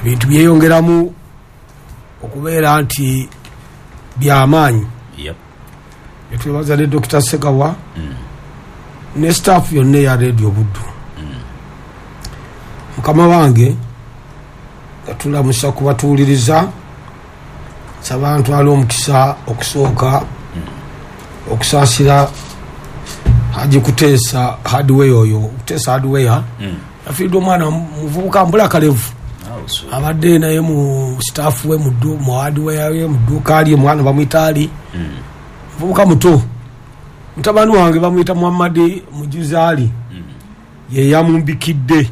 Ebintu byeyongeramu okubeera nti byamaanyi. Netwebaza ne Dokita Segawa ne staff yonna eya Radio Buddu. Mukama wange nga tulamusa ku batuwuliriza, nsaba ntwale omukisa okusooka okusaasira Haji Kuteesa Hardware oyo. Kuteesa Hardware yafiiridwa omwana muvubuka mbula kalevu, abadde naye mu staff we mu hardware we mu dduuka lye, mwana bamuyita Ali, muvubuka muto. Mutabani wange bamuyita Muhammad Mujuzi Ali, ye yamumbikidde.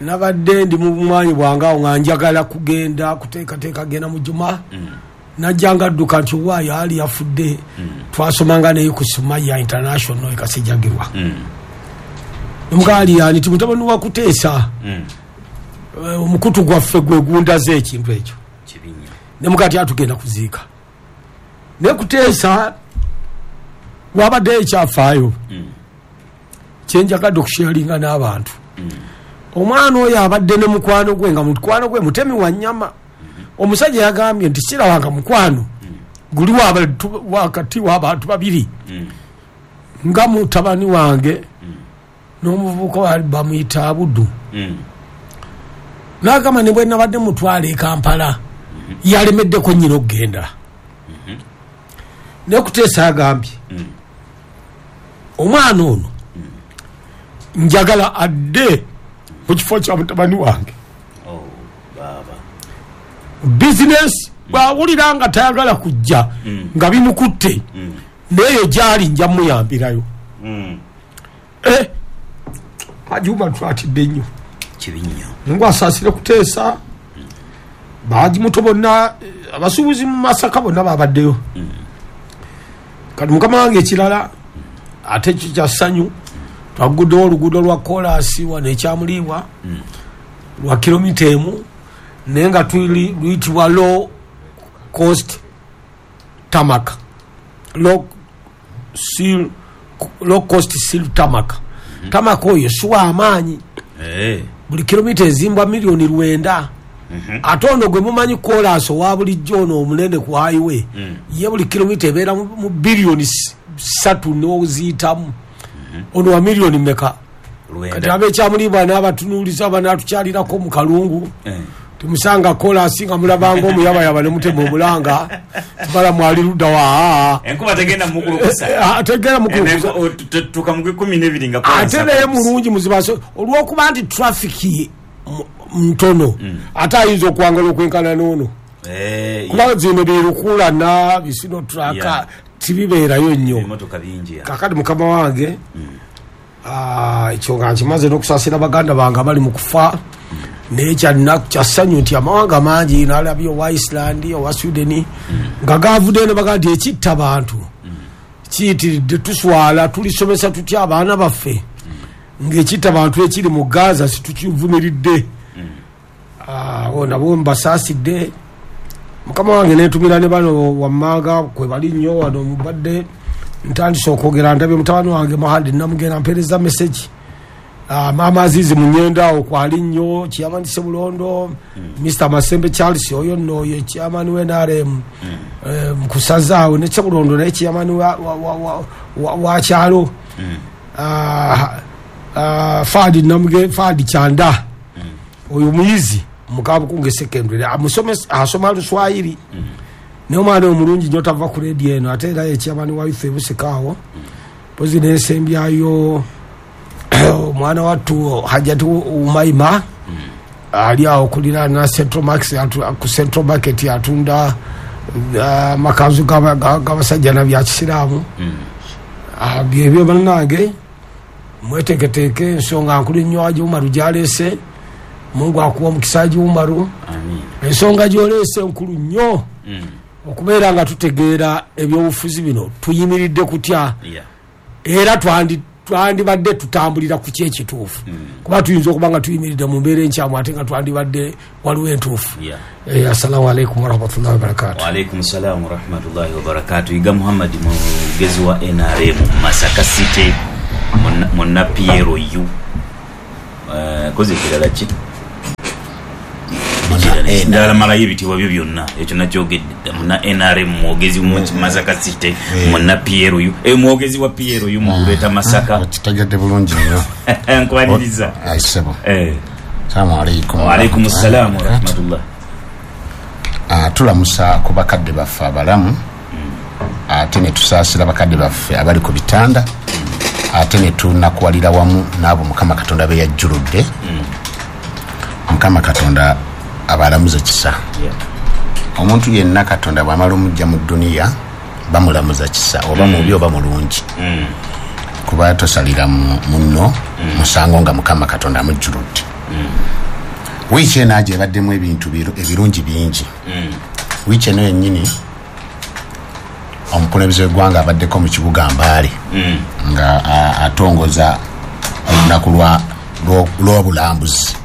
Nabadde ndi mu bumwanyi bwange awo nga njagala kugenda kuteekateeka genda mu Juma, najja nga adduka nti owaayo Ali yafudde. Twasomanga naye ku Sumaya International e Kasijjagirwa. Nemuga Ali yani ti mutabani wa Kuteesa, omukutu gwaffe gwe gundaze ekintu ekyo. Nemuga ti atugenda kuziika. Naye Kuteesa wabaddeyo ekyafaayo kyenjagadde okusharinga n'abantu. Omwana oyo abadde ne mukwano gwe, nga mukwano gwe mutemi wa nnyama. Omusajja yagambye nti sirabanga mukwano guli wakati w'abantu babiri nga mutabani wange n'omuvubuka bamuyita Abudu. N'agamba ne bwe nabadde mutwala e Kampala yalemeddeko nnyina okugenda. Naye Kuteesa agambye omwana ono njagala adde mu kifo kya mutabani wange. Bizinesi bw'awulira nga tayagala kujja nga bimukutte, n'eyo gy'ali nja muyambirayo. Haji Umar twatidde nnyo. Kibi nnyo. Mungu asaasire Kuteesa, bahaji muto bonna, abasuubuzi mu Masaka bonna babaddeyo. Kati mukama wange ekirala ate ekyo kya ssanyu, twaguddewo oluguudo lwa koolaasi wano ekyamuliibwa lwa kilomita 1, naye nga luyitibwa low cost tarmac, low cost seal tarmac. Tarmac oyo si wa maanyi, buli kilomita ezimbwa miliyoni 9. Ate ono gwe mumanyi koolaasi owa bulijjo ono omunene ku highway, ye buli kilomita ebeera mu biliyoni 3 n'oziyitamu. Ono wa miliyoni meka? Kati ab'ekyamuliibwa n'abatunuuliza banaatukyalirako mu kalungu, timusanga koolaasi nga mulabanga omuyabayaba ne mutema omulanga tibala mwali ludda wa enkuba tegenda mukulukusa, tegenda mukulukusa tuka mu 12 nga koolaasi ate naye mulungi muzibaso olw'okuba nti trafiki ntono, ate ayinza okwangala okwenkana n'ono, kuba zino birukulana bisino traka tibibeerayo nnyo. Kakati mukama wange ekyo nga nkimaze n'okusaasira baganda bange abali mu kufa, naye kya ssanyu nti amawanga mangi nalabye owa Iceland, owa Sweden nga gavuddeyo ne bagamba nti ekitta bantu kiyitiridde, tuswala, tulisomesa tutya abaana baffe ng'ekitta bantu ekiri mu Gaza situkivumiridde. Nabo mbasaasidde. Mukama wange netumira ne bano wammanga kwe bali nnyo wano mubadde ntandise okwogera, ndabye mutabani wange Muhandi namugenda mpeereza message. Maama Azizi Munyenda awo kwali nnyo, Chairman Sebulondo, Mr. Masembe Charles oyo nno oyo Chairman wa NRM mukusaza awo ne Sebulondo naye Chairman wa kyalo, Fadi Namuge, Fadi Chanda oyo muyizi Mukabukunge secondary, asoma Luswahili, naye omwana omulungi nnyo tava ku radio eno, ate era ye Chairman wa youth ebusika awo. Mpozi n'ensembyayo omwana wattu Hajati Umaima ali awo kuliraana Central Max, ku Central Market atunda amakanzu g'abasajja na bya kisiraamu. Byebyo bannange, mweteeketeeke, ensonga nkulu nnyo Haji Umaru gy'aleese. Mungu akuwa omukisa Haji Umaru. Ensonga gy'oleese nkulu nnyo, okubeera nga tutegeera ebyobufuzi bino tuyimiridde kutya, era twandibadde tutambulira ku ki ekituufu, kuba tuyinza okuba nga tuyimiridde mu mbeera enkyamu ate nga twandibadde waliwo entuufu. Assalamu alaikum warahmatullahi wabarakatuh. Wa alaikum salam warahmatullahi wabarakatuh. Iga Muhammad mwogezi wa NRM Masaka City munna PLU. Kozi ekirala ki? Ndala malayo ebitiibwa byo byonna, ekyo nakyogedde. Muna NRM, mwogezi mu Masaka City, muna PLU, mwogezi wa PLU mu Greater Masaka. Okitegedde bulungi nnyo. Nkwaniriza. Ayi ssebo. Salaamu alaikum. Wa alaikum salaam wa rahmatullah. Tulamusa ku bakadde baffe abalamu, ate ne tusaasira bakadde baffe abali ku bitanda, ate ne tunakuwalira wamu n'abo Mukama Katonda be yajjuludde. Mukama Katonda abalamuze kisa. Omuntu yenna Katonda bw'amala omujja mu dduniya bamulamuza kisa, oba mubi oba mulungi, kuba tosalira munno musango nga Mukama Katonda amujjuludde. Wiiki eno aje ebaddemu ebintu ebirungi bingi. Wiiki eno yennyini omukulembeze w'eggwanga abaddeko mu kibuga Mbale nga atongoza olunaku lw'obulambuzi.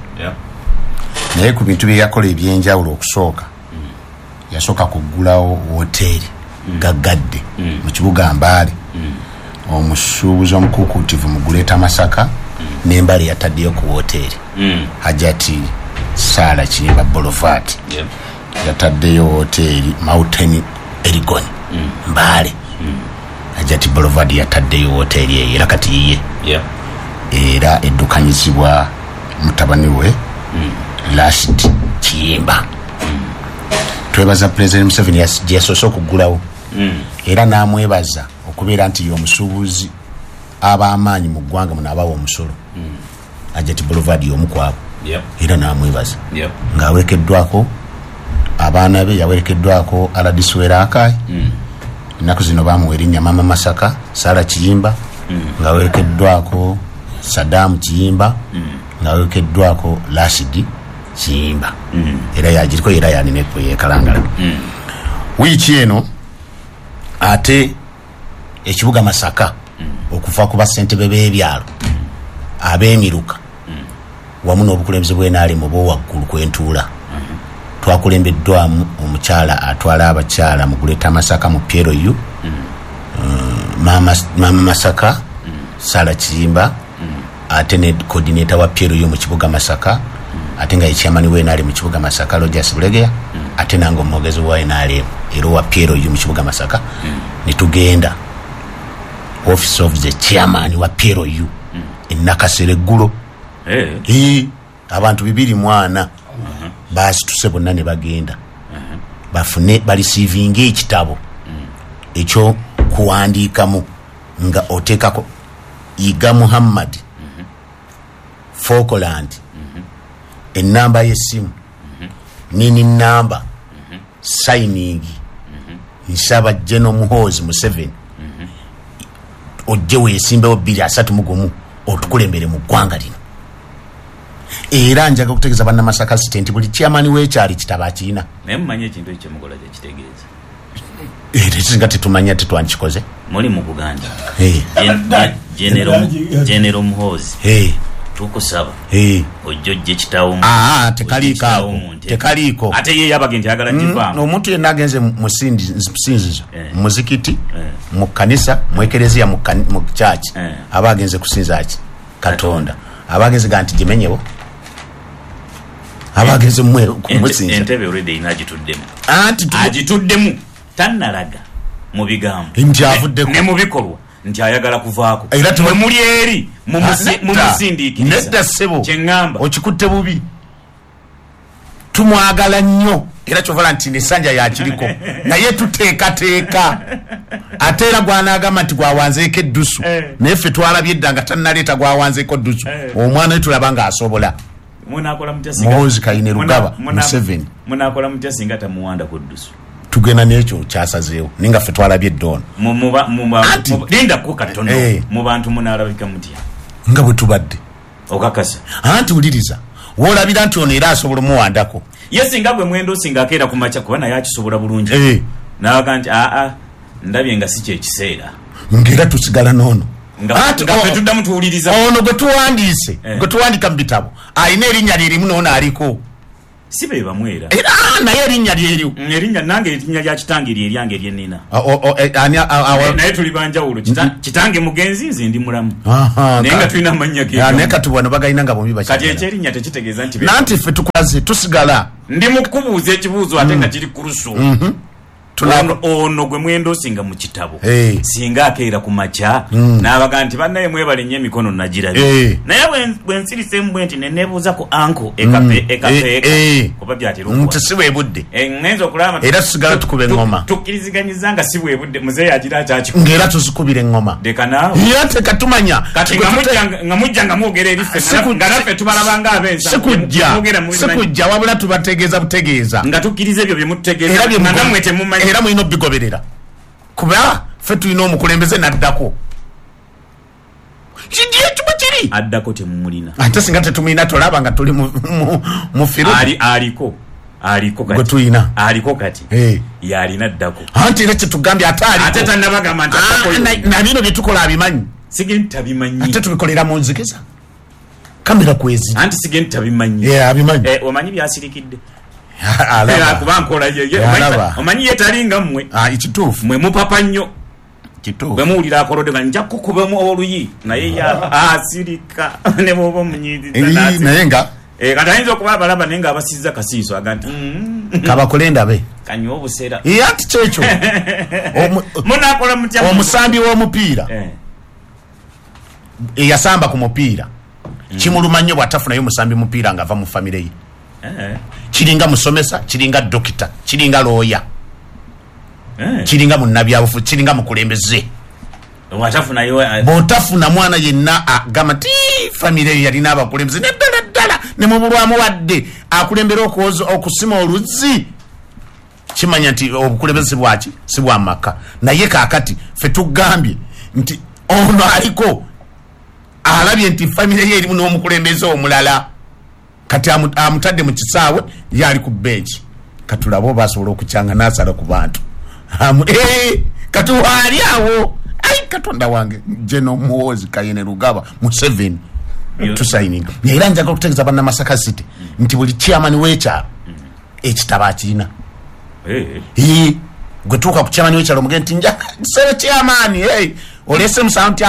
Naye ku bintu bye yakola ebyenjawulo, okusooka yasooka kuggulawo woteeri gaggadde mu kibuga Mbale. Omusuubuzi omukuukuutivu mu Greater Masaka n'Embale yataddeyo ku woteeri Hajati Saala Kiyimba Boulevard. Yataddeyo woteeri Mountain Erigon Mbale. Hajati Boulevard yataddeyo woteeri eyo, era kati yiye, era eddukanyizibwa mutabani we Rashid Kiyimba. Twebaza President Museveni gye yasoose okuggulawo, era n'amwebaza okubeera nti y'omusuubuzi ab'amaanyi mu ggwanga muno abawa omusolo. Hajati Boulevard y'omu ku abo, era n'amwebaza ng'awerekeddwako abaana be, yawerekeddwako Aladis Werakai, ennaku zino bamuwa erinnya Mama Masaka Sara Kiyimba, ng'awerekeddwako Saddam Kiyimba, ng'awerekeddwako Rashid Kiyimba. Era yagiriko, era yanina yekalangala. Wiiki eno ate ekibuga Masaka okuva ku bassentebe b'ebyalo ab'emiruka wamu n'obukulembeze bw'NRM obw'owaggulu kwentuula, twakulembeddwamu omukyala atwala abakyala mu Greater Masaka mu PLU, Mama Masaka Sara Kiyimba, ate ne coordinator wa PLU mu kibuga Masaka, ate nga ye chairman wa NRM mu kibuga Masaka Rogers Bulegeya, ate nange omwogezi wa NRM era owa PLU mu kibuga Masaka, ne tugenda office of the chairman wa PLU e Nakasero eggulo. Abantu 204 basituse bonna ne bagenda bafune balisiivinga ekitabo ekyo kuwandiikamu nga oteekako Iga Muhammad Falkland, enamba y'essimu, nini namba, signing, nsaba General Muhoozi Museveni ojje weesimbewo 2031 otukulembere mu ggwanga lino. Era njaga okutegeeza bannamasaka City nti buli chairman w'ekyalo kitabo akirina. Naye mumanyi ekintu ekyo kyemukola kyekitegeeza? Era tetumanya, tetwandikikoze. Muli mu kuganja General Muhoozi, tukusaba ojje ojje kitaawo. Tekaliiko ako, tekaliiko. Ate ye yabage nti ayagala kivaamu. Omuntu yenna agenze mu sinzizo, mu muzikiti, mu kkanisa, mu ekereziya, mu church, aba agenze kusinza ki? Katonda. Aba agenze ga nti gimenyewo, aba agenze kumusinza. Entebe already ina agituddemu. Anti agituddemu tannalaga mu bigambo nti avuddeko, ne mu bikolwa nti ayagala kuvaako. Mwe muli eri mumusindiikiriza. Nedda ssebo, kyeŋŋamba okikutte bubi. Tumwagala nnyo, era kyovala nti nesanja yakiriko, naye tuteekateeka. Ate era gwanaagamba nti gwawanzeeko eddusu, naye ffe twalabye edda nga tannaleeta gwawanzeeko ddusu. Omwana we tulaba ng'asobola. Muhoozi Kainerugaba Museveni. Munaakola mutya singa tamuwanda ku ddusu? Tugenda n'ekyo kyasazeewo, naye nga ffe twalabye edda ono. Lindako katono, mu bantu munaalabika mutya? Nga bwe tubadde. Okakasa? Anti wuliriza, woolabira nti ono era asobola omuwandako. Ye singa gwe mwendo singa akeera ku makya, kuba naye akisobola bulungi, n'aga nti aa ndabye nga si kyekiseera, ng'era tusigala n'ono. Nga ffe tuddamu tuwuliriza ono gwe tuwandiise, gwe tuwandika mu bitabo, alina erinnya lye limu n'ono aliko. Si be bamu era. Era naye erinnya lyeryo. Erinnya nange erinnya lya kitange lye eryange lye nnina. Naye tuli banjawulo. Kitange mugenzi, nze ndi mulamu. Naye nga tulina amannya ge. Naye kati wano bagalina nga bombi bakyagala. Kati ekyerinnya tekitegeeza nti Nanti ffe tukulaze tusigala. Ndi mu kukubuuza ekibuuzo ate nga kiri kuruso. Ono gwe mwendosinga mu kitabo singa akeera ku makya n'abaga nti bannaye mwebale nnyo emikono nagirabye, naye bwe nsirisemu bwe nti ne neebuuza ku anko ekapeeka kuba byatera okuba si bwe budde, ngenza okulaba era tusigala tukuba eŋŋoma, tukkiriziganyiza nga si bwe budde, muzeeyi agira akyakikuba ng'era tuzikubira eŋŋoma. Leka naawe era tekatumanya kati nga mujja nga mwogera eriffe nga naffe tubalaba nga ab'ensa, sikujja wabula tubategeeza butegeeza nga tukkiriza ebyo bye mututegeeza nga nammwe temumanyi, era mulina obigoberera kuba ffe tulina omukulembeze n'addako. Kimu kiri addako temumulina, ate singa tetumulina tolaba nga tuli mu firu. Aliko kati gwe tulina aliko kati yalina addako, anti era kyetugambye ate aliko, ate tannabagamba nti addako, na bino bye tukola abimanyi, sigenti tabimanyi, ate tubikolera mu nzikiza kamera kwezi, anti sigenti tabimanyi, abimanyi. Omanyi byasirikidde kuba nkola omanyi ye talinga mmwe kituufu, mwe mupapa nnyo bwe muwulira akolodde nga nja kukubamu oluyi, naye asirika ne bw'oba omunyiiziza naye nga kati ayinza okuba abalaba naye ng'abasizza kasiiso aga nti kabakole ndabe kanywa obusera. Anti kyekyo munaakola mutya? Omusambi w'omupiira eyasamba ku mupiira kimuluma nnyo bw'atafunayo musambi mupiira ng'ava mu famire ye. Kiringa musomesa, kiringa dokita, kiringa looya, kiringa munnabyabufuzi, kiringa mukulembeze. Bw'otafuna mwana yenna agamba nti famire eyo yalina abakulembeze naddala ddala ne mubulwamu wadde akulembera okusima oluzzi, kimanya nti obukulembeze si bwaki, si bwa maka. Naye kaakati ffe tugambye nti ono aliko alabye nti famire ye erimu n'omukulembeze omulala, kati amutadde mu kisaawe ye ali ku benchi, katulabe oba asobola okukyanga n'asala ku bantu. Kati waali awo, ai Katonda wange, General Muhoozi Kainerugaba Museveni tusayininga. Era njagala okutegeeza bannamasaka City nti buli chairman w'ekyalo ekitabo akirina. Gwe tuuka ku chairman w'ekyalo omugende nti nja sebe chairman, oleese musanvu nti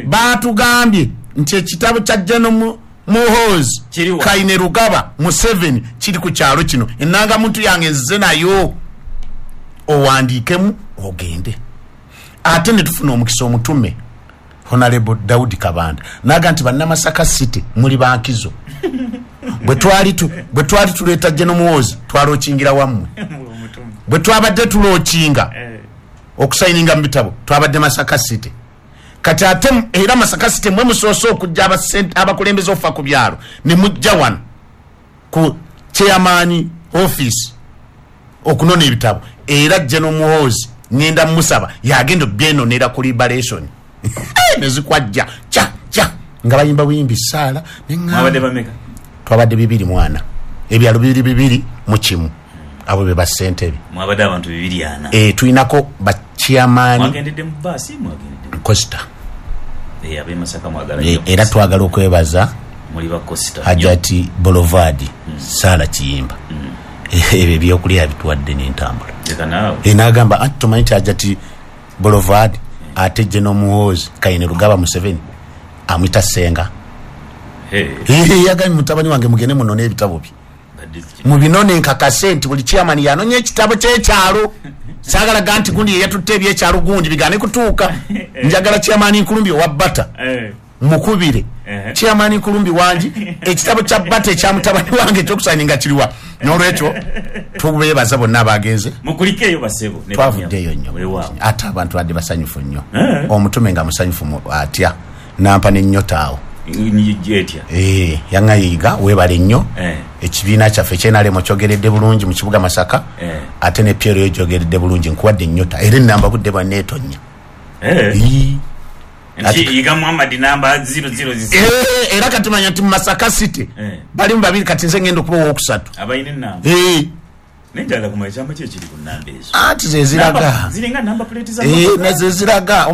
baatugambye nti ekitabo kya General Muhoozi Kainerugaba Museveni kiri ku kyalo kino, ennangamuntu yange nzize nayo, owandiikemu ogende. Ate ne tufuna omukisa omutume Honorable Daudi Kabanda naga nti bannamasaka City muli bankizo, bwe twali tuleeta General Muhoozi twalookingira wammwe, bwe twabadde tulookinga okusayininga mu bitabo twabadde Masaka City. Kati ate era Masaka City mwe musoose okujja abakulembeze okufa ku byalo ne mujja wano ku chairman office okunona ebitabo, era General Muhoozi ngenda musaba yagenda obyenonera ku liberation nezikwajja cha cha nga bayimba buyimbi saala. Mwabadde bameka? Twabadde 2 mwana, ebyalo 2 mu kimu, abo be bassentebe. Mwabadde abantu 240. Tulinako ba chairman. Mwagendedde mu baasi, mwagendedde Costa. Ab'e Masaka mwagala nnyo. Era twagala okwebaza muli ba Costa Hajati Boulevard Sala Kiyimba, ebyo ebyokulya bituwadde n'entambula. N'agamba anti tomanyi nti Hajati Boulevard ate General Muhoozi Kainerugaba Museveni amwita Ssenga. Yagambye mutabani wange mugende munone ebitabo bye, mubinone nkakase nti buli chairman yanonye ekitabo ky'ekyalo. Saagala ga nti gundi yeyatutte ebyekyalo gundi bigane kutuuka. Njagala chairman Nkulumbi owa Bata mukubire chairman Nkulumbi wangi ekitabo kya Bata ekya mutabani wange ekyokusayininga kiriwa. N'olwekyo tubeebaza bonna abagenze, mukulikeeyo basebo, twavuddeeyo nnyo, ate abantu badde basanyufu nnyo. Omutume nga musanyufu atya nampa n'ennyota awo yaŋŋayiga weebale nnyo. Ekibiina kyaffe ekyenalemo kyogeredde bulungi mu kibuga Masaka, ate ne Piero yo gyogeredde bulungi, nkuwadde ennyota era ennamba budde bwanne etonya. Yiga Muhammad namba 000. Era kati manya nti mu Masaka City balimu babiri, kati nze ngenda okuba owokusatu abalina ennamba. Nenjagala kumanya ekyama ki ekiri ku nnamba ezo. Anti ze ziraga ziringa namba plate za ze ziraga.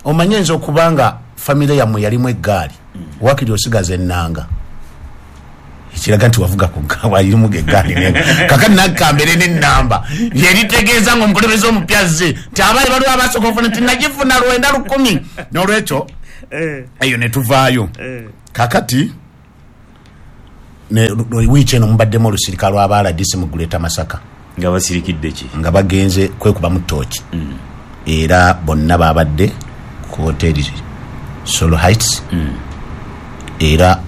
Omanyi nze okubanga famire yammwe yalimu eggaali, wakiri osigaza ennanga ekiraga nti wavuga ku walimu eggaali. Kakati nakambere n'ennamba yeritegeeza nga omukulembeze omupya azze nti abaali baliwo abasooka okufuna nti nagifuna 9,000. N'olwekyo eyo ne tuvaayo. Kakati Wiiki eno mubaddemu olusirika lw'aba RDC mu Greater Masaka. Nga basirikidde ki? Nga bagenze kwekubamu ttooki. Era bonna babadde ku hoteri Solo Heights. Era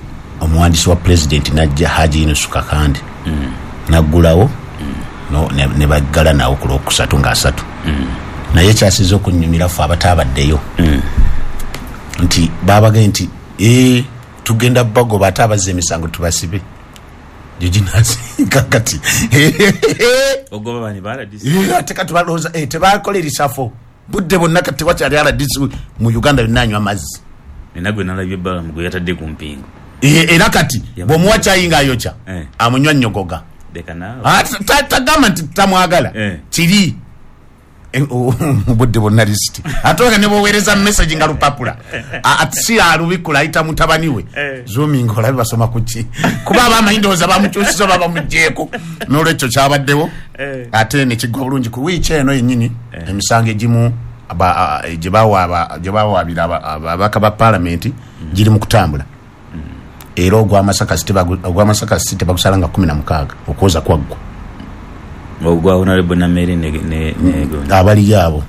omuwandiisi wa pulezidenti najja, Haji Yunusu Kakande, naggulawo ne baggala nawo ku Lwokusatu nga 3. Naye ekyasinze okunyumira ffe abataabaddeyo nti babagaye nti tugenda bagoba, ate abazza emisango tubasibe. Kakati ogoba bani ba RDC? Ate kati balowooza tebakola erisafo budde bonna, kati tewakyali RDC mu Uganda yonna anywa mazzi. Nina gwe nalabye Balamu gwe yatadde ku mpingu. Era kati bw'omuwa kyayi ng'ayokya amunywa nnyogoga. Tagamba nti tamwagala kiri budde bonna lisiti, ate nga ne bw'oweereza message nga lupapula si alubikula, ayita mutabani we zooming olabe basoma ku ki, kuba abamanyi ndowooza bamukyusiza oba bamuggyeeko. N'olwekyo kyabaddewo ate ne kiggwa bulungi. Ku wiiki eno yennyini emisango egimu gye bawaabira ababaka ba paalamenti giri mu kutambula. Era ogw'Amasaka City bagusala nga 16 okwoza kwaggwa. Ogwa Honorable Namere ne abaliyo abo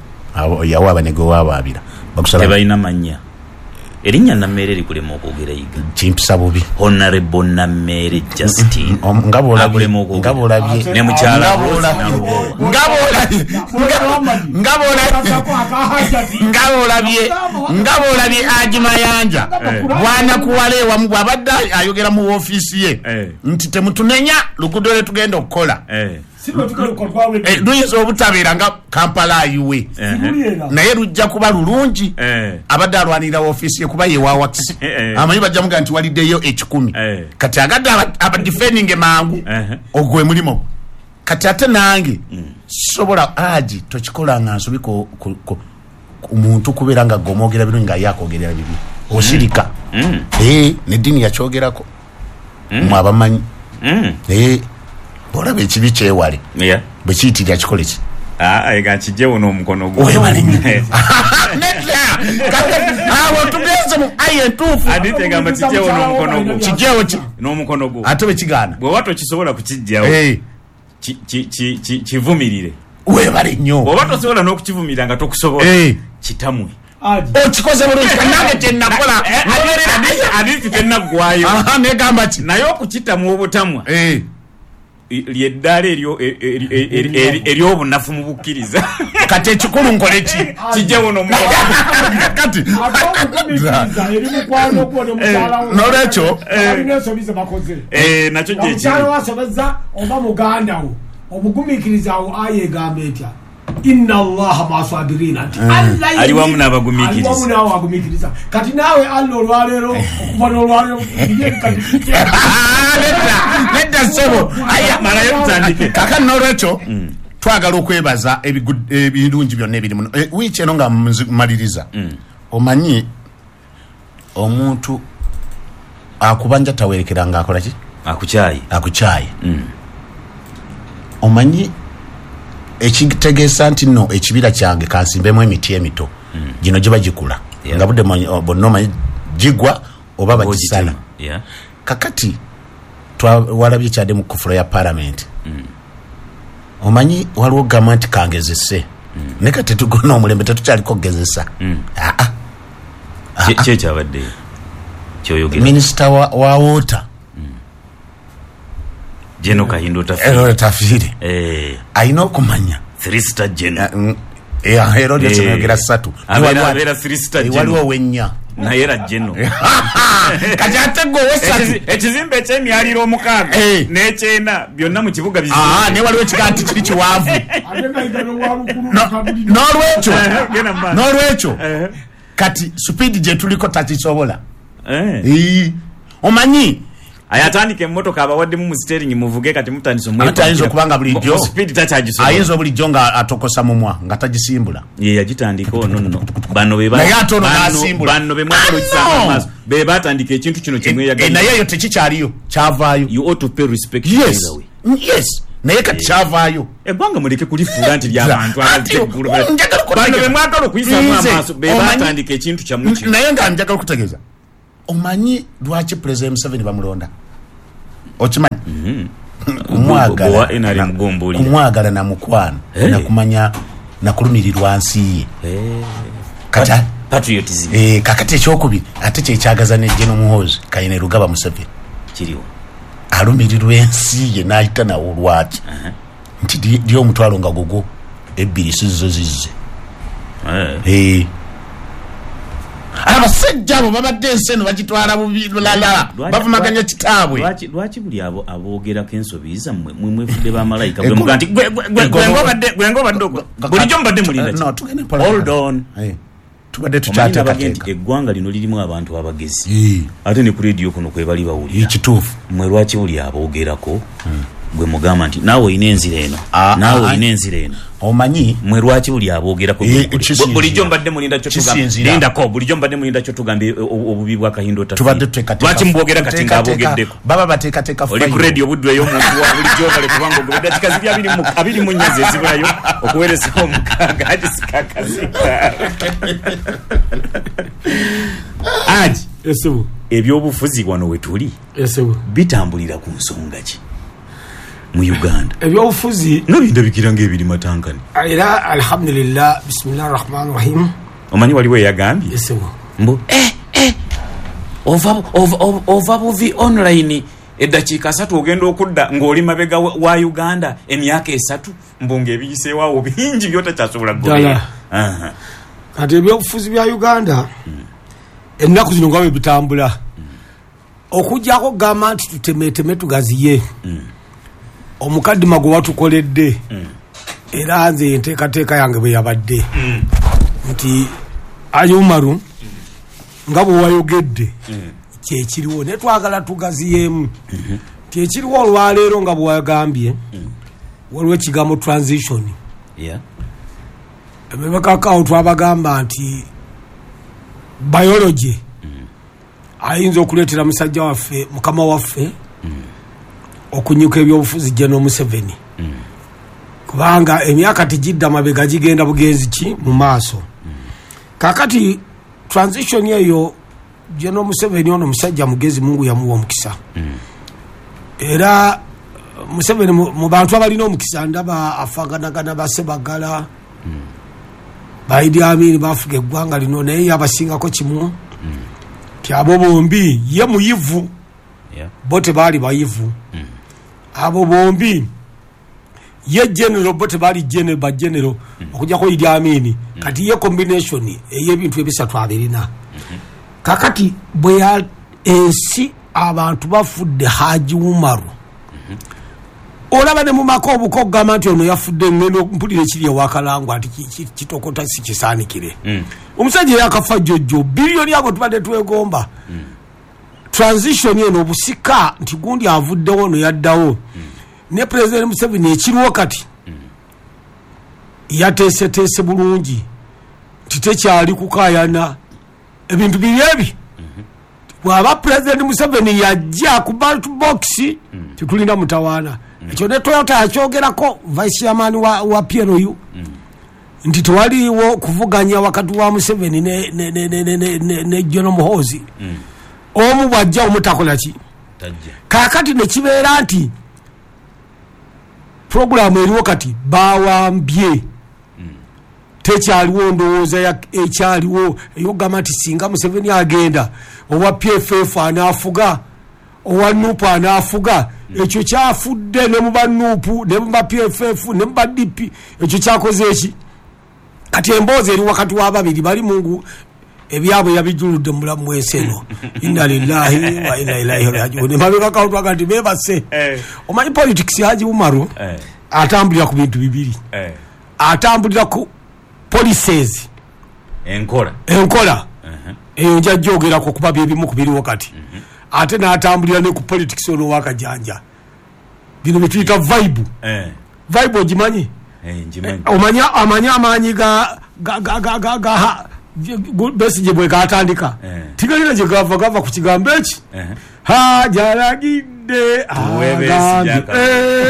yawaaba ne gwe wawaabira bagusala tebalina mannya. Erinnya Namere likulema okwogera yiga. Kimpisa bubi. Honorable Namere Justin. Nga bw'olabye ne mukyala nga bw'olabye Haji Mayanja bw'anakuwala ewamu bw'abadde ayogera mu woofiisi ye nti temutunenya luguudo lwe tugenda okukola luyinza obutabeera nga Kampala ayiwe, naye lujja kuba lulungi. Abadde alwanirira woofiisi ye kuba ye wa wakisi, amanyi bajja mugaa nti waliddeyo 1,000. Kati agadde abadifendinge mangu ogwe mulimu. Kati ate nange sobola Haji tokikola nga nsobi ku muntu kubeera nga gomwogera birungi nga ye akogerera bibi, osirika. Neddiini yakyogerako mwe abamanyi. Olaba ekibi kyewale bwe kiyitirira kikole ki? Ega kijjewo n'omukono gwo. Webale nnyo. Awo tugenze mu ayi entuufu. Adite egamba kijjewo n'omukono gwo. Kijjewo ki? N'omukono gwo. Ate bwe kigaana. Bw'oba tokisobola kukijjawo kivumirire. Webale nnyo. Bw'oba tosobola n'okukivumirira nga tokusobola kitamwe. Okikoze bulungi nange kye nakola. Adite tennaggwayo. Negamba ki? Naye okukitamwa obutamwa lyeddaala ery'obunafu mu bukkiriza. Kati ekikulu nkole ki? Kijjewo n'omukono. Kati n'olwekyo nakyo gye kiri. Omukyala wasobezza oba muganda wo omugumiikiriza awo aya egamba etya? Inna Allaha ma'asabirina, nti Allah ali wamu n'abagumiikiriza. Kati naawe Allah olwaleero okuva n'olwaleero nedda ssebo malayo tutandike. Kaakati n'olwekyo twagala okwebaza ebirungi byonna ebiri muno wiiki eno nga mmaliriza. Omanyi omuntu akubanja tawerekera nga akola ki? Akukyaye. Akukyaye. Omanyi ekitegeesa nti nno ekibira kyange kansimbemu emiti emito gino giba gikula nga budde bonna omanyi gigwa oba bagisala. Kakati twalabye kyadde mu kufula ya paalamenti. Omanyi waliwo gamba nti kangezese, naye kati tetugona omulembe tetukyaliko kugezesa. Ki ekyabaddeyo kyoyogera? Minisita wa water Jeno Kahindo Otafiire alina okumanya 3-star Jeno. Era olyo kyenayogera 3 abeera 3-star Jeno, waliwo wennya naye era Jeno. Kati ate gwe owesatu ekizimbe ekyemyaliro 6 n'ekyena byonna mu kibuga bizimbe. Naye waliwo ekigaa nti kiri kiwanvu. N'olwekyo kati supiidi gye tuliko takisobola. Omanyi ayatandika emmotoka abawaddemu mu steering muvuge, kati mutandise omwekwa. Ayinza okuba nga bulijjo speed takyagisobola. Ayinza bulijjo nga atokosa mumwa nga tagisimbula. Ye yagitandika ono nno bano be naye ate ono n'asimbula. Bano be mwagala okisanga amaaso be batandika ekintu kino kye mweyagala. Naye eyo tekikyaliyo, kyavaayo. You ought to pay respect. Yes. Yes. Naye kati kyavaayo. Eggwanga muleke kulifuula nti ly'abantu abateggulu. Bano be mwagala okuyisaamu amaaso be batandika ekintu kyammwe kino. Naye nga njagala okutegeeza, omanyi lwaki Pulezidenti Museveni bamulonda? Okimanyi? Kumwagala, kumwagala na mukwano nakumanya nakulumirirwa nsi ye. Kati patriotism. Kakati ekyokubiri ate kyekyagaza ne General Muhoozi Kainerugaba Museveni kiriwo alumirirwa ensi ye n'ayita nawo lwaki nti dy omutwalo nga gogo ebbiri sizzo zizze. Abasajja abo babadde ensi eno bagitwala bubi lulala, bavumaganya kitaabwe. Lwaki buli abo aboogerako ensobi zammwe mwe mwefudde bamalayika bwe muga nti gwe ng'obadde bulijjo mubadde mulinda ki? No, tugende mpola. Hold on. Tubadde tukyateekateeka. Eggwanga lino lirimu abantu abagezi ate ne ku rediyo kuno kwe bali bawulira. Kituufu. Mmwe lwaki buli aboogerako gwe mugamba nti naawe olina enzira eno, naawe olina enzira eno. Omanyi mwe lwaki buli aboogerako bulijjo mbadde mulinda kyo tugamba lindako bulijjo mbadde mulinda kyo tugamba obubi bwa Kahindo Tafiri. Tubadde tuteekateeka. Lwaki mbwogera kati ng'aboogeddeko? Baba bateekateeka oli ku rediyo buddu ey'omuntu wa bulijjo bale kubanga ogobye eddakiika ziri 24 ze zibulayo okuweereza omukaaga ati sikakazika. Aji ebyobufuzi wano we tuli bitambulira ku nsonga ki mu Uganda? Ebyobufuzi nga bindabikira ng'ebiri matankani. Era alhamdulillah, bismillah rahman rahim. Omanyi waliwo eyagambye mbu ova buvi online eddakiika 3 ogenda okudda ng'oli mabega wa Uganda emyaka 3 mbu ng'ebiyiseewo bingi by'otakyasobola kugoberera. Kati ebyobufuzi bya Uganda ennaku zino nga bwe bitambula okuggyako okugamba nti tutemeteme tugaziye omukaddima gwe watukoledde era nze enteekateeka yange bwe yabadde nti Umaru nga bwe wayogedde kyekiriwo naye twagala tugaziyeemu nti ekiriwo olwaleero nga bwe wagambye waliwo ekigambo transition. Emabegako twabagamba nti biology ayinza okuleetera musajja waffe mukama waffe okunyuka ebyobufuzi General Museveni kubanga emyaka tegidda mabega gigenda bugenzi ki mu maaso. Kakati transition eyo General Museveni ono musajja mugezi, Mungu yamuwa omukisa. Era Museveni mu bantu abalina omukisa ndaba afaganagana basebagala ba Idi Amin bafuga eggwanga lino naye yabasingako kimu ti abo bombi ye muyivu bo tebaali bayivu. Abo bombi ye general bo tebaali ba general okujjako Idi Amin. Kati ye combination ey'ebintu ebisatu abirina. Kakati bwe ensi abantu bafudde Haji Umaru olaba ne mu maka obuko okugamba nti ono yafudde ngendo mpulira ekiri ewakalangwa nti kitokota si kisaanikire. Omusajja yakafa jjojjo biliyoni abo tubadde twegomba. Transition eno obusika nti gundi avuddewo ono yaddawo ne President Museveni ekiriwo kati yateeseteese bulungi nti tekyali kukaayana ebintu biri ebi. Bw'aba President Museveni yajja ku ballot box tetulina mutawaana. Ekyo ne Toyota yakyogerako vice chairman wa PLU nti tewaliwo kuvuganya wakati wa Museveni ne General Muhoozi. Omu bw'ajja omutakola ki? Kaakati ne kibeera nti puroguramu eriwo kati bawambye tekyaliwo ndowooza ekyaliwo ey'okugamba nti singa Museveni agenda owa PFF anaafuga owa NUP anaafuga. Ekyo kyafudde ne mu ba NUP ne mu ba PFF ne mu ba DP. Ekyo kyakoze eki? Kati emboozi eri wakati w'ababiri bali Mungu ebyabwe yabijuludde mu bulamu bw'ensi eno. Inna lillahi wa inna ilaihi rajiun. Mabegako twaga nti beebase. Omanyi politics Haji Umaru atambulira ku bintu bibiri. Atambulira ku policies enkola eyo nja gyogerako kuba byebimu ku biriwo kati ate n'atambulira ne ku politics ono wakajanja bino bye tuyita vibe. Vibe ogimanyi? Omanya amaanyi ga Besigye bwe gatandika tigalina gye gava ku kigambo eki hajalagidde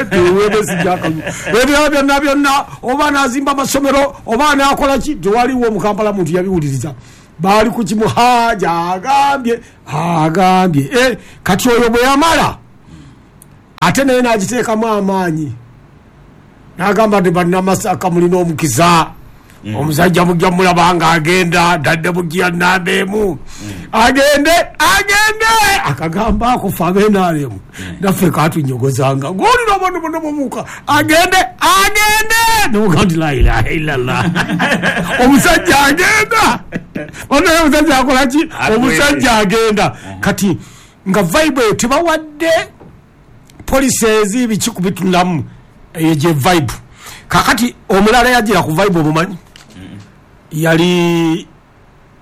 tuwe Besigye akalulu ebyo byonna byonna oba anazimba amasomero oba anaakola ki tewaliwo mu Kampala muntu yabiwuliriza baali ku kimu haja agambye agambye. Kati oyo bwe yamala Ate naye n'agiteekamu amaanyi, n'agamba nti bannamasaka mulina omukisa, omusajja mujja mulaba nga agenda dadde mujja namba emu, agende agende. Akagamba ako fe abenaremu naffe katunyogozanga ng'olina abantu bonna babuuka agende agende, noga nti la ilaha illallah, omusajja agenda. Onaye omusajja akola ki? Omusajja agenda. Kati nga vibe eyo tebawadde policies biki kubitunamu, eyo gye vibe. Kakati omulala yagira ku vibe omumanyi yali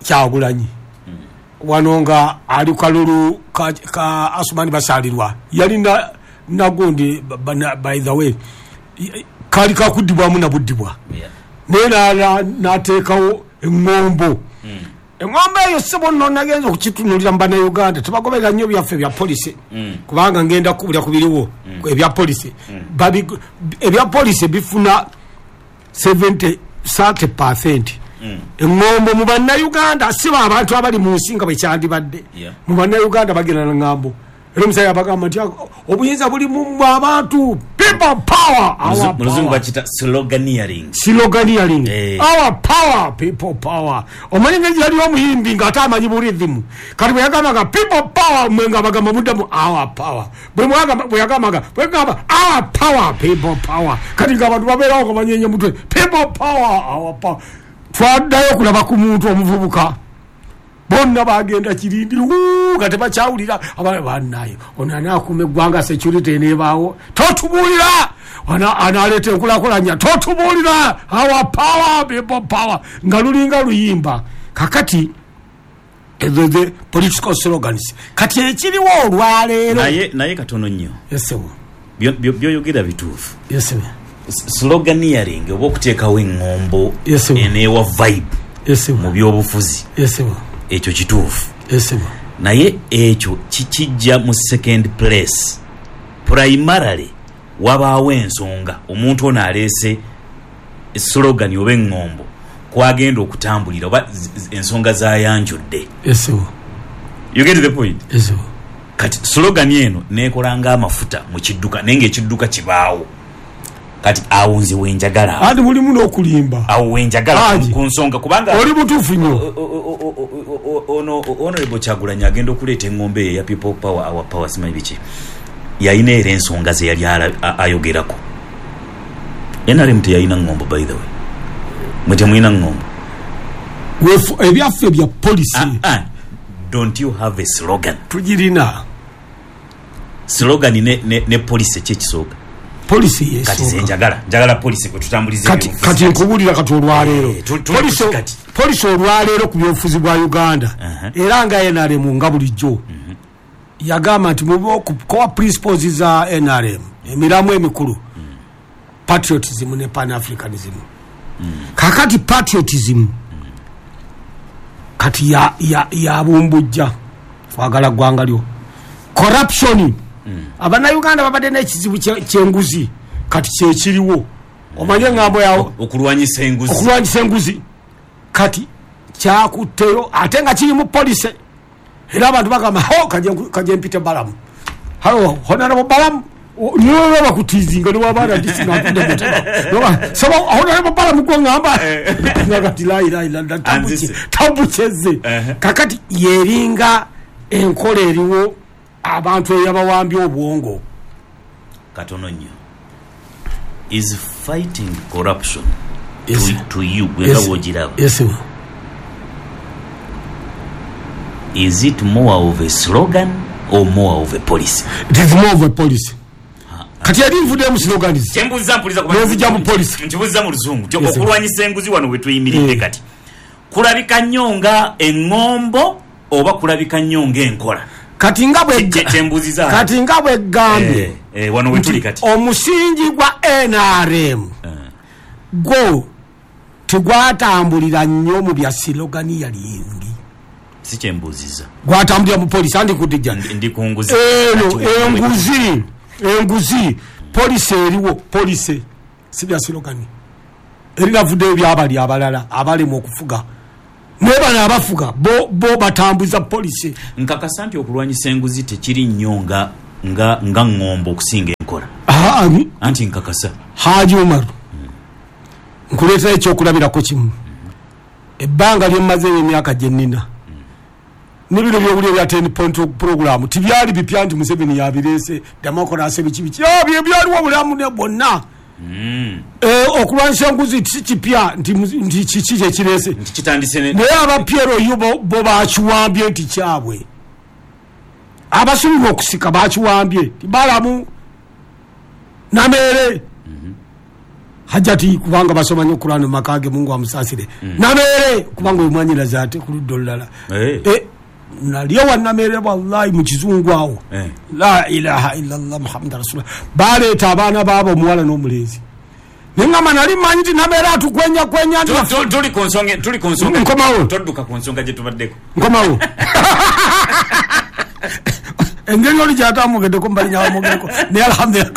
Kyagulanyi wano nga ali kalulu ka Asumani Basalirwa, yali nagundi by the way kali kakuddibwamu nabuddibwa, naye n'ateekawo eŋŋombo. Eŋŋombo eyo ssebo nno nagenza okukitunulira mu bannayuganda tebagoberera nnyo byaffe bya polisi, kubanga ngenda kubulya ku biriwo ebya polisi. Ebya polisi bifuna 70-30%. Eŋŋombo mu bannayuganda si ba abantu abali mu nsi nga bwe kyandibadde. Mu bannayuganda bagenda na ŋŋambo. Era omusajja abagamba nti obuyinza buli mu abantu, people power, our Muluzungu power. Bakita sloganeering. Sloganeering. Our power, people power. Omanyi ngeri yali omuyimbi ng'ate amanyi bu rhythm. Kati bwe yagambanga people power, mwe nga bagamba muddamu our power. Bwe yagambanga, bwe yagamba our power, people power. Kati ng'abantu babeerawo nga banyeenya mutwe, people power, our power. Twaddayo okulaba ku muntu omuvubuka. Bonna bagenda kirindi nga tebakyawulira. Abaana bannaye ono anaakuuma eggwanga, security eneebaawo, totubuulira. Anaaleeta enkulaakulanya, totubuulira. Our power, people power, nga lulinga luyimba. Kakati ezo the political slogans. Kati ekiriwo olwaleero Naye katono nnyo. Yes, Byoyogera bituufu. Yes. Sloganeering oba okuteekawo eŋŋombo Yes. eneewa vibe Yes. mu byobufuzi, Yes. ekyo kituufu. Yes. Naye ekyo kikijja mu second place. Primarily wabaawo ensonga omuntu ono aleese slogan oba eŋŋombo kwagenda okutambulira oba ensonga zayanjudde. Yes. You get the point? Yes. Kati slogan eno neekola ng'amafuta mu kidduka, naye ng'ekidduka kibaawo. Kati awo nze wenjagala, Anti mulimu n'okulimba. awo wenjagala Haji. ku nsonga, kubanga Oli mutuufu nnyo. Ono Honorable Kyagulanyi agenda okuleeta eŋŋombe eyo eya people power, our power, simanyi biki, yalina era ensonga ze yali ayogerako. NRM teyalina ŋŋombo, by the way. Mwe temulina ŋŋombo. Ebyaffe bya polisi. Don't you have a slogan? Tugirina. Slogan ne policy ki ekisooka? Polisi Kati yesooka. nze njagala policy kwe tutambuliza Kati ebyobufuzi. kati nkubuulira kati olwaleero. Tuli kati. Polisi olwaleero ku byobufuzi bwa Uganda, era nga NRM nga bulijjo yagamba nti mu core principles za NRM, emiramu emikulu, patriotism ne pan-africanism. Kakati patriotism kati yabumbujja kwagala ggwanga lyo. Corruption, abannayuganda babadde n'ekizibu ky'enguzi, kati kyekiriwo. Omanye eŋŋambo yawo Okulwanyisa enguzi. Okulwanyisa enguzi kati kyakutteyo, ate nga kiri mu police. Era abantu bagamba ho kaje mpite Balamu, halo Honorable Balamu, niwe bakutizinga niwe abaana disinga atudde mutema saba Honorable Balamu gwe ŋŋamba nga kati la ilaha illallah, Anzise. tambukyeze. Kakati yeringa enkola eriwo abantu eyabawambye obwongo. Katono nnyo. Is fighting corruption Yes. to you gwe nga Yes. bw'ogiraba, Yes. is it more of a slogan or more of a policy? It is more of a policy. Kati yali nvuddemu slogans. Kyembuuza mpuliza kuba Nenzija mu policy. Nkibuuza mu luzungu. Yes, sir. Okulwanyisa enguzi wano we tuyimiridde kati kulabika nnyo nga eŋŋombo oba kulabika nnyo ng'enkola? Kati nga bwe Kyembuuziza. Kati nga bwe gambye Wano we tuli nti kati. omusingi gwa NRM gwo tegwatambulira nnyo mu bya sloganeering. Si kyembuuziza. Gwatambulira mu policy. Andi kudijja. Ndi ku nguzi. Eno, Kati wano we enguzi, enguzi, policy eriwo, policy si bya slogan. Erinavuddeyo byabali abalala abalema okufuga, naye bano abafuga bo batambuza policy. Nkakasa nti okulwanyisa enguzi tekiri nnyo nga nga ngombo okusinga enkola. Anti nkakasa Haji Umar nkuleetera ekyokulabirako kimu. Ebbanga lyemmaze emyaka gye nnina n'ebiro byobulya bya 10 point program tibyali bipya nti Museveni yabireese democracy biki biki byaliwo obulamu ne bwonna. Okulwanyisa enguzi si kipya nti kiki kyekireese, naye aba PLU bo bakiwambye nti kyabwe, abasubirwa okusika bakiwambye balamu Namere Hajati kubanga basoma nnyo Kurani mu maka ge, Mungu amusaasire. Namere kubanga oyo mwanyinaze ate ku ludda olulala. Nali ewa Namere wallahi mu kizungu awo. La ilaha illallah Muhammad rasulullah. Baleeta abaana baabo omuwala n'omulenzi. Naye ngamba nali mmanyi nti Namere atukwenya kwenya nti tuli ku nsonga, tuli ku nsonga. Nkomawo. Todduka ku nsonga gye tubaddeko. Nkomawo. Engeri oli gy'atamwogeddeko mbali nyawamwogereko naye alhamdulillah.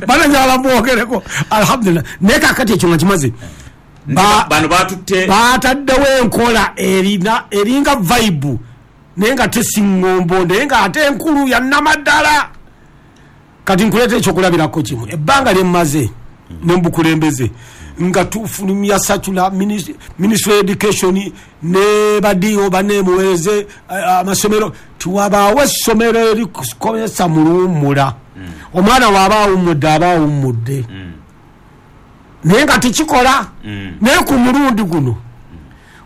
Bana njagala mwogereko alhamdulillah. Naye kaakati ekyo nga kimaze, bano batutte bataddewo enkola eringa vibe naye nga tesiŋŋombo naye nga ate enkulu ya nnamaddala. Kati nkuleeta ekyokulabirako kimu. Ebbanga lye mmaze ne mbukulembeze nga tufulumya circular Ministry of Education ne badiyo banemuweereze amasomero, tiwabaawo essomero erikozesa mu luwummula. Omwana waaba awummudde aba awummudde, naye nga tekikola. Naye ku mulundi guno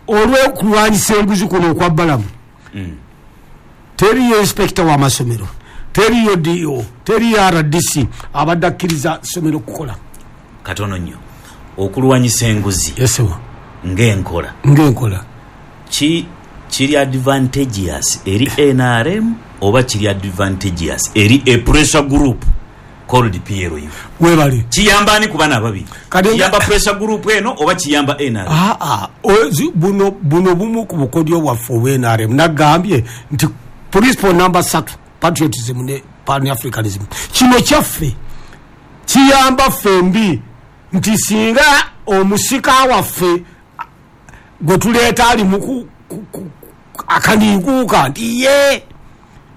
olw'okulwanyisa enguzi kuno okwa Balamu, teriyo inspector w'amasomero, teriyo DO, teriyo RDC abadde akkiriza ssomero kukola. Katono nnyo okulwanyisa enguzi ng'enkola ng'enkola kiri advantageous eri NRM oba kiri advantageous eri a pressure group called PLU? Webale. Kiyamba ani ku bano ababiri? Kiyamba pressure group eno oba kiyamba NRM? Buno bumu ku bukodyo bwaffe obwa NRM. Nagambye nti principle number 3 patriotism ne pan-africanism, kino kyaffe kiyamba ffembi nti singa omusika waffe gwe tuleeta ali mu akaniikuuka nti ye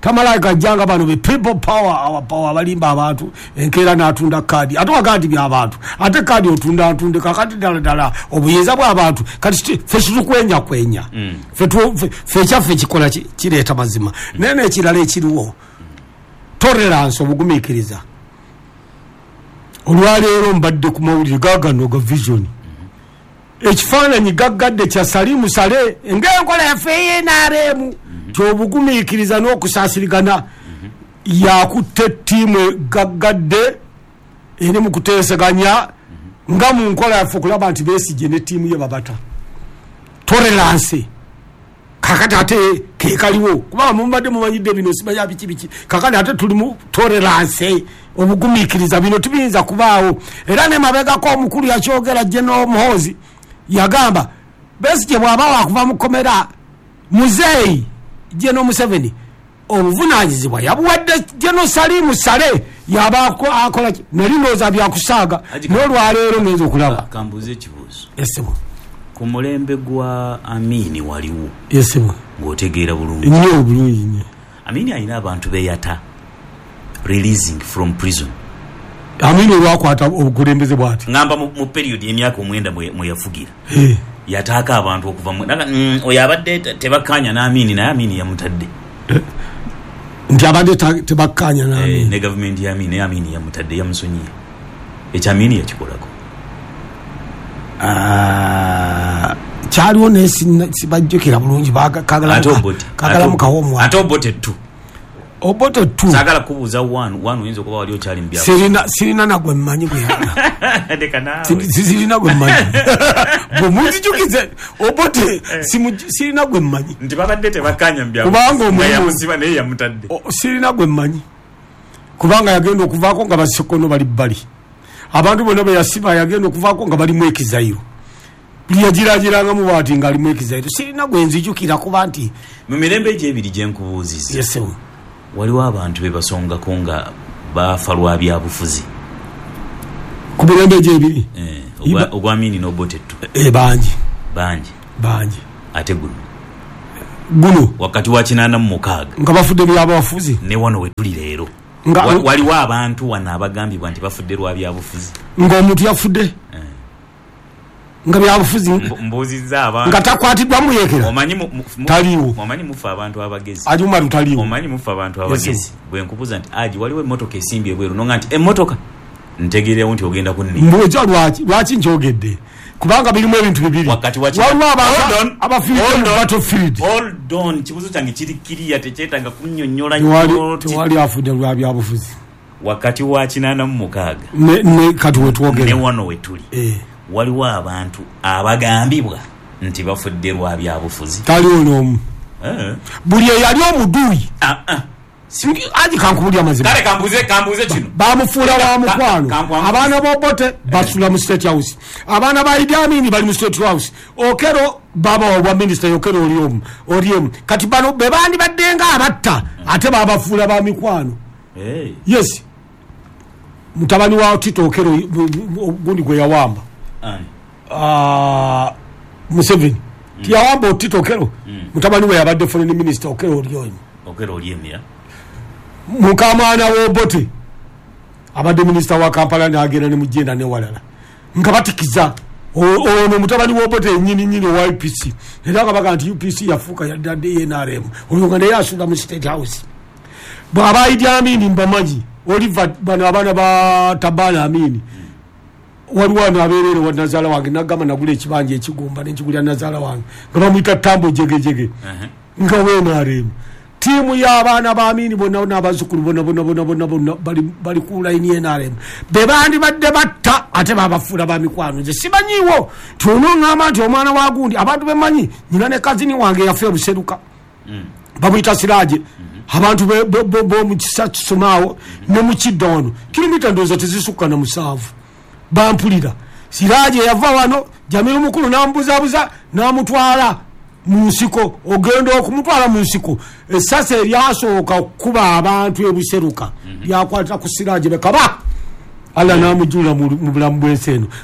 tamala gajjanga bano be people power, our power, balimba abantu enkeera n'atunda kaadi, ate wagaa nti by'abantu, ate kaadi otunda ntunde kakati ddala ddala obuyinza bw'abantu. Kati ffe situkwenya kwenya, ffe ekyaffe kikola kireeta mazima. Naye n'ekirala ekiriwo tolerance, obugumiikiriza. Olwaleero mbadde ku mawulire gaagano ga Vision, ekifaananyi gaggadde kya Salimu Saleh ng'enkola yaffe ey'NRM kyobugumiikiriza n'okusaasirigana, yakutte ttiimu gaggadde eri mu kuteeseganya nga mu nkola yaffe okulaba nti Besigye ne ttiimu ye babata. Tolerance kakati ate kekaliwo, kubanga mubadde mumanyidde bino simanya biki biki, kakati ate tuli mu tolerance, obugumiikiriza, bino tibiyinza kubaawo. Era ne mabegako omukulu yakyogera General Muhoozi yagamba Besigye bw'aba wakuva mu kkomera, muzeeyi General Museveni obuvunaanyizibwa yabuwadde General Salimu Saleh, yaba akola nali ndowooza byakusaaga n'olwaleero ngenza okulaba. Kambuuze ekibuuzo. Yesibu. Ku mulembe gwa Amini waliwo Yesibu ng'otegeera bulungi nnyo, obulungi nnyo. Amini alina abantu beyata releasing from prison. Amini olwakwata obukulembeze bwati ngamba mu period y'emyaka 9 mwe yafugira yataaka abantu okuva oyo abadde tebakkaanya n'Amini, naye Amini yamutadde. Nti abadde tebakkaanya n'Amini ne gavumenti ya Amini, naye Amini yamutadde, yamusonyiye. Ekyo Amini yakikolako. Kyaliwo naye sibajjukira bulungi, kagalamu kawomu ate Obote tu Obote tu saagala kubuuza wanu oyinza okuba wali okyali mu byawo. Sirina nagwe mmanyi gwe leka naawe sirina gwe mmanyi bwe munzijukize Obote sirina gwe mmanyi nti babadde tebakkaanya mu byawo kubanga omulimu yamusiba naye yamutadde. Sirina gwe mmanyi kubanga yagenda okuvaako nga basekono bali bbali, abantu bonna be yasiba yagenda okuvaako nga balimu ekizayiro, buli yagiragirangamu bw'ati ng'alimu ekizayiro. Sirina gwe nzijukira kuba nti mu mirembe egyo ebiri gye nkubuuzizza Yes, waliwo abantu be basongako nga bafa lwa byabufuzi ku mirembe egyo ebiri ogwa Amini n'Obote tu bangi bangi bangi. Ate guno Guno Wakati wa 86. Nga bafudde byabafuzi. Ne wano we tuli leero, waliwo abantu wano abagambibwa nti bafudde lwa byabufuzi. Ng'omuntu yafudde nga byabufuzi? Mbuuzizza abantu. Nga takwatiddwa muyekera? Omanyi Taliiwo. Omanyi mufe abantu abagezi. Haji Umaru taliiwo. Omanyi mufe abantu abagezi, bwe nkubuuza nti, "Aji, waliwo emmotoka esimbye ebweru," nonga nti emmotoka, ntegeerewo nti ogenda kunni. Mbuuza lwaki nkyogedde, kubanga birimu ebintu bibiri. Wakati wa Waliwo Hold on. abafiiridde mu Hold on. battlefield. Hold on, kibuzo kyange kiri kiriya, tekyetaaga kunnyonnyola nnyo. Tewali afudde lwa byabufuzi. Wakati wa 86 Ne kati ne wetwogera wano we tuli, waliwo abantu abagambibwa nti bafudde lwa byabufuzi. Taliwo n'omu. Buli eyali omuduuyi. Ah, ah. Aji, kankubulya amazima. Kale kambuuze kino. Bamufuula wa mukwano. Abaana b'Obote basula mu State House, abaana ba Idi Amini bali mu State House, Okero baba wa minisita Okero oli omu. Kati bano be bandibadde nga abatta, ate babafuula ba mikwano. Yes, mutabani wa Tito Okero gundi gwe yawamba. Ani? Ah, Museveni tiyawamba Tito Okero? Mutabani we yabadde foreign minister, Okero oli omu. Okero oli emira. Mukamwana w'Obote abadde minisita wa Kampala, nagenda ne mugenda newalala nga batikiza. Ono mutabani w'Obote enyini nyini owa UPC, era nga baga nti UPC yafuuka yadde NRM, oyo nga naye asula mu State House. Bw'aba Idi Amini mbamanyi, Oliver, bano abaana ba Tabana Amini, waliwo ano abeerere wa nazaala wange, nagamba nagula ekibanja ekigumba nenkigulya nazaala wange nga bamuyita Tambo Jegejege, nga weNRM. Tiimu y'abaana ba Amini bonna n'abazzukulu bonna bonna bonna bonna bonna bali ku layini NRM. Be bandibadde batta, ate babafuula ba mikwano. Nze simanyiiwo ti onoŋŋamba nti omwana wa gundi. Abantu bemanyi, nyina ne cousin wange yafe Buseruka, bamuyita Siraje. Abantu b'omukisa kisomaawo ne mukidda wano, kilomita ndowooza tezisukka na 7, bampulira. Siraje yava wano, Jamiru mukulu n'amubuzabuza n'amutwala mu nsiko. Ogenda okumutwala mu nsiko, essasi eryasooka okukuba abantu ebuseruka lyakwata ku Siraje. Bekaba Allah n'amujulira mu bulamu bw'ensi eno.